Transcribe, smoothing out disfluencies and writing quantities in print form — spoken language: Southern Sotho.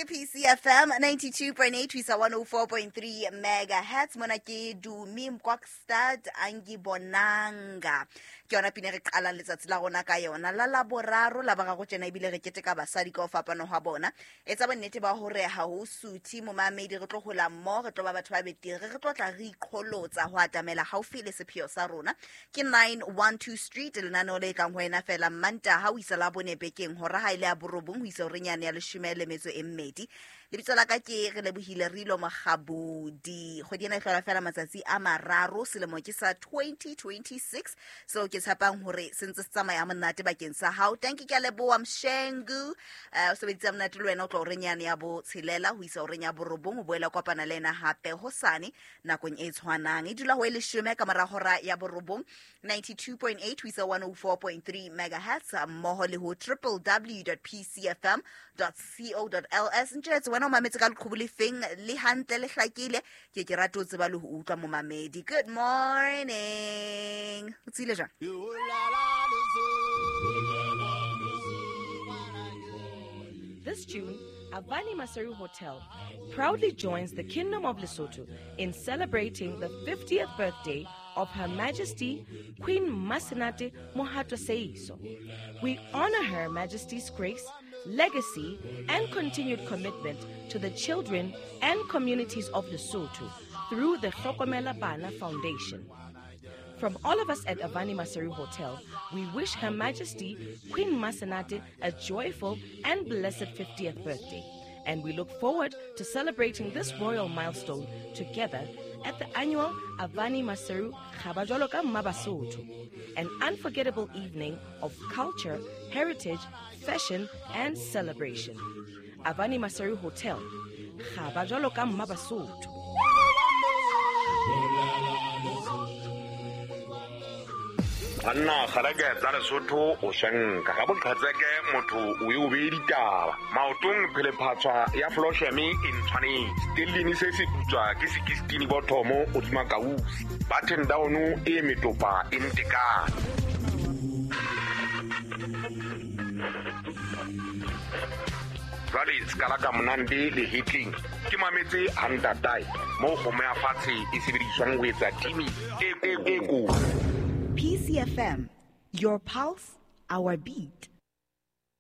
PCFM 92.8 ho isa 104.3 megahertz. Mona ke Dumi Mkwakstad Angibonanga. Ke yona pina re qalang letsatsi la rona ka yona la laboraro la boraro tjena, ebile re keteka basadi ka ho fapana hwa bona. Etsa bonnete ba hore ha ho suthe momamedi, re tlo hola mmoho, re tlo ba batho ba betere, re tlo tla re iqholotsa ho atamela haufi le sepheo sa rona. Ke 912 Street, lenaneo le tlang ho wena fela Mantaha ho isa la bone bekeng, hora ha ile ya borobong ho isa horeng yane ya 12. Lebitso la ka ke re lebohile Rilo Mogabodi. Kgwedi ena e hlola fela matsatsi a mararo, selemo ke sa 2026, seo ke tshepang hore se ntse se tsamaya monate bakeng sa hao. Tanki, ke a leboha Mshengu. O sebeditse monate le wena o tlo horeng yane ya botshelela ho isa horeng ya borobong, o boela kopana le ena hape hosane nakong e tshwanang. E dula ho e 10 ka mora hora ya borobong, 92.8 ho isa 104.3 megahertz, mmoho le ho www.pcfm.co.ls. Ntjhetse wena o mametse ka leqhubu le feng, le hantle le hlakile, ke rate ho tseba le ho utlwa momamedi. Good morning, o tsile jwang? This June, Avani Maseru Hotel proudly joins the Kingdom of Lesotho in celebrating the 50th birthday of Her Majesty Queen Masenate Mohato Seiso. We honor Her Majesty's grace, legacy, and continued commitment to the children and communities of Lesotho through the Hlokomela Bana Foundation. From all of us at Avani Maseru Hotel, we wish Her Majesty Queen Masenate a joyful and blessed 50th birthday. And we look forward to celebrating this royal milestone together at the annual Avani Maseru Kgaba Jwalo ka Mma Basotho, an unforgettable evening of culture, heritage, fashion, and celebration. Avani Maseru Hotel, Kgaba Jwalo ka Mma Basotho. Banna kgaleke tsa Lesotho o shenka ga boqhetseke motho o e o beye ditaba maotong phelephatswa ya flosheme e ntshwanetse stellini se se putswa ke sekistini bothomo o kausi button down e metopa e ntekane. Jwale sekala ka monande le hitling ke mametse hantatae mo kgomo ya fatshe e sebediswang ho etsa timi e kotsi. PCFM, your pulse, our beat.